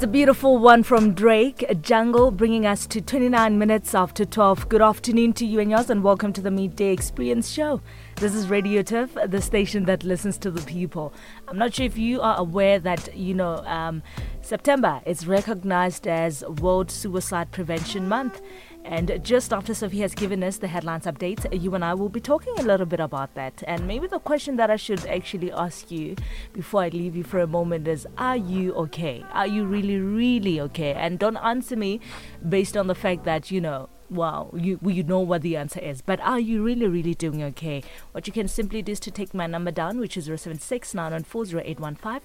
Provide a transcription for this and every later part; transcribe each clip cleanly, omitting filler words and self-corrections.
It's a beautiful one from Drake, Jungle, bringing us to 29 minutes after 12. Good afternoon to you and yours, and welcome to the Midday Experience Show. This is Radio Turf, the station that listens to the people. I'm not sure if you are aware that, you know, um, September is recognized as World Suicide Prevention Month. And just after Sophie has given us the headlines update, you and I will be talking a little bit about that. And maybe the question that I should actually ask you before I leave you for a moment is Are you okay? Are you really, really okay? And don't answer me based on the fact that, you know, well, you you know what the answer is. But are you really, really doing okay? What you can simply do is to take my number down, which is 076 914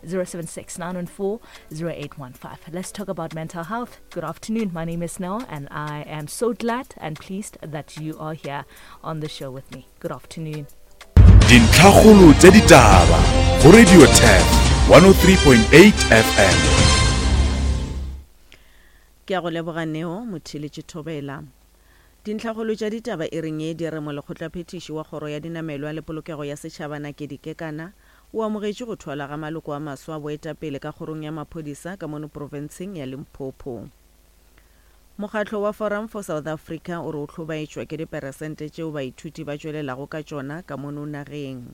076 Let's talk about mental health. Good afternoon. My name is Nell, and I am so glad and pleased that you are here on the show with me. Good afternoon. Dintlhakgolo tša ditaba go Radio Turf 103.8 FM. Ke a go leboga Neo, motheeletši Thobela. Dintlhakgolo tša ditaba e reng ye di re Molekgotlaphethiši wa Kgoro ya Dinamelwa le Polokego ya Setšhaba Nakedi Kekana o amogetše go thwalwa ga maloko a maswa a boetapele ka Kgorong ya Maphodisa ka mono profenseng ya Limpopo. Mokgatlo wa Forum for South Africa o re o hlobaetšwa ke diperesente tšeo baithuti ba tšwelelago ka tšona ka mono nageng.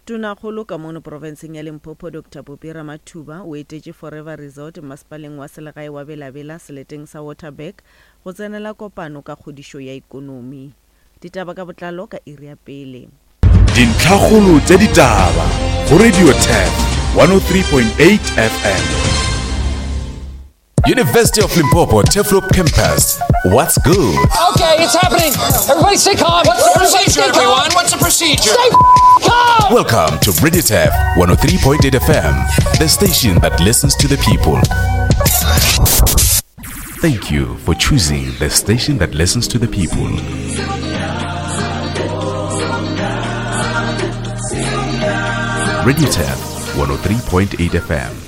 Tonakgolo ka mono profenseng ya Limpopo Doctor Phophi Ramathuba o etetše Forever Resort mmasepaleng wa selegae wa Bela-Bela seleteng sa Waterberg go tsenela kopano ka kgodišo ya ikonomi. Ditaba ka botlalo ka iri ya pele. Dintlhakgolo tša ditaba go Radio Turf 103.8 FM. University of Limpopo Turfloop Campus. What's good? Okay, it's happening. Everybody stay calm. What's the Everybody procedure, stay calm. everyone? What's the procedure? Stay calm. Welcome to Radio Turf 103.8 FM, the station that listens to the people. Thank you for choosing the station that listens to the people. Radio Turf 103.8 FM.